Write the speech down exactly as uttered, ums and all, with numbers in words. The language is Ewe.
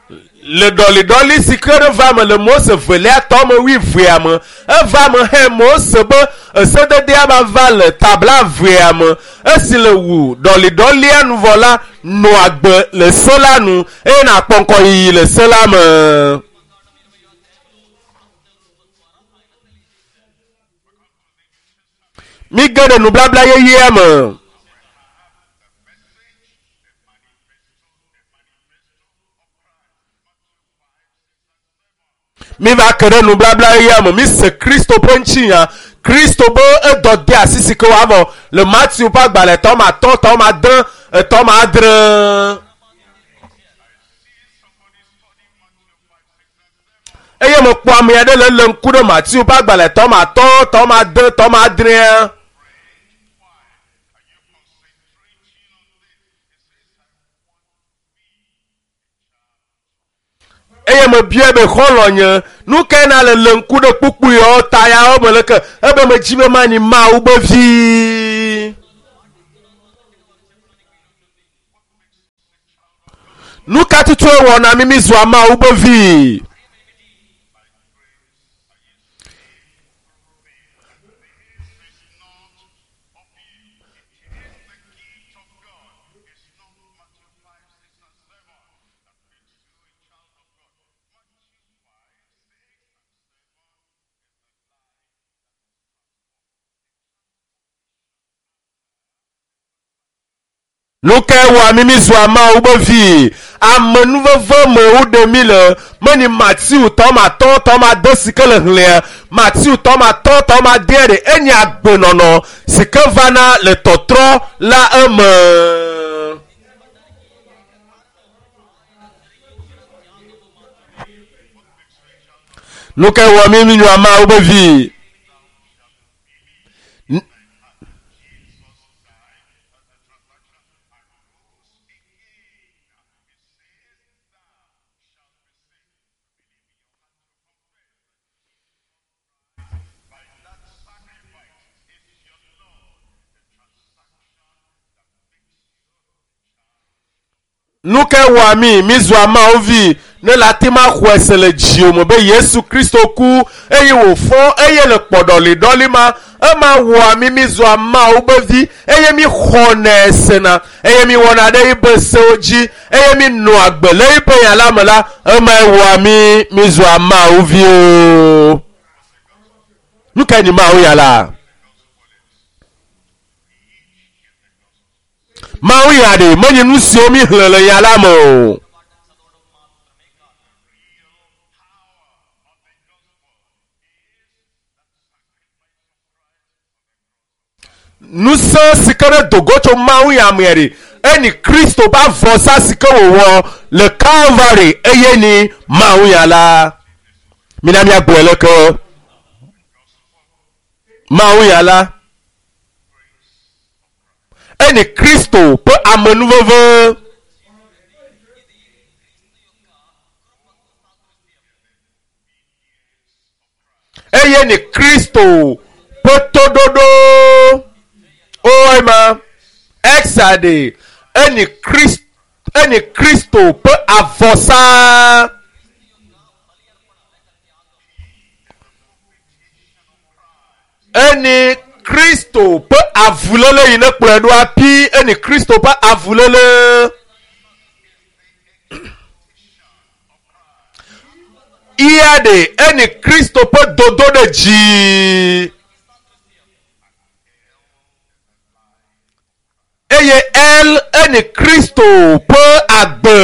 Le ɖɔliɖɔli si ke ɖe va me le Mose velia tɔ me wuievea me, eva me he Mose be esededea ba va le tabla vea me. Esi le wu ɖɔliɖɔlia nu vɔ la, nɔ agbe le se la nu eye nakpɔ ŋgɔyiyi le se la me. Mi ge ɖe nubabla yeyea me. Mi va ke ɖe nubabla yeyea me. Mi se Kristo ƒe ŋutinya. Kristo be edɔ de asi si ke woavɔ le Matthew ƒe agbalẽ tɔ ma atɔ̃, tɔ ma ade, etɔ ma adre. Eye mekpɔ ame aɖe le lé ŋku ɖe Matthew ƒe agbalẽ tɔ ma atɔ̃, tɔ ma ade, tɔ ma adrea. Eye mebia be xɔlɔ̃ nye, nu kae na le lé ŋku ɖe kpukpuiwo ta yawo me leke ebe medzi be manyi Mawu be vi. Nu ka tutue wɔna mi mi zua Mawu be vi? Nu kae wɔa mi mi zua Mawu be vi? Amenuveve me woɖe mi le. Menyi Matthew tɔ ma atɔ̃, tɔ ma ade si ke le xlẽa. Matthew tɔ ma atɔ̃, tɔ ma adea ɖe enye agbenɔnɔ si ke vana le tɔtrɔ la eme. Nu kae wɔa mi mi zua Mawu be vi? Nu ke wɔa mi, mi zua Mawu vi, ne le ate ma xɔe se le dziwò me be Yesu Kristo ku eye wòfɔ eye le kpɔɖɔliɖɔli ma, ema wɔa mi, mi zua Mawu be vi eye mi xɔnɛ sena eye mi wɔna ɖe yibe sewo dzi eye mi nɔa agbe le yibe nya la me la, emae wɔa mi, mi zua Mawu viwo. Nu kae nyi Mawu ya la? Mawu ya ɖe menye nu siwo mi xlẽ le nya la me o. Ŋusẽ si ke ɖe dogo tso Mawu ya mea ɖe, enyi Kristo ƒe avɔsa si ke wòwɔ le Calvary eye nyi Mawu ya la. Mina míagblɔe leke. Mawu ya la enyi Kristo ƒe amenuveve. Eye ni Kristo ƒe toɖoɖo. O ema Exade enyi Krist-, enyi Kristo ƒe avɔsa. Enyi Kristo ƒe avulele yi ne kplɔe ɖoa pi. Enyi Kristo ƒe avulele. Iya ɖe enyi Kristo ƒe dodo ɖe dzi. Eye El enyi Kristo ƒe agbe.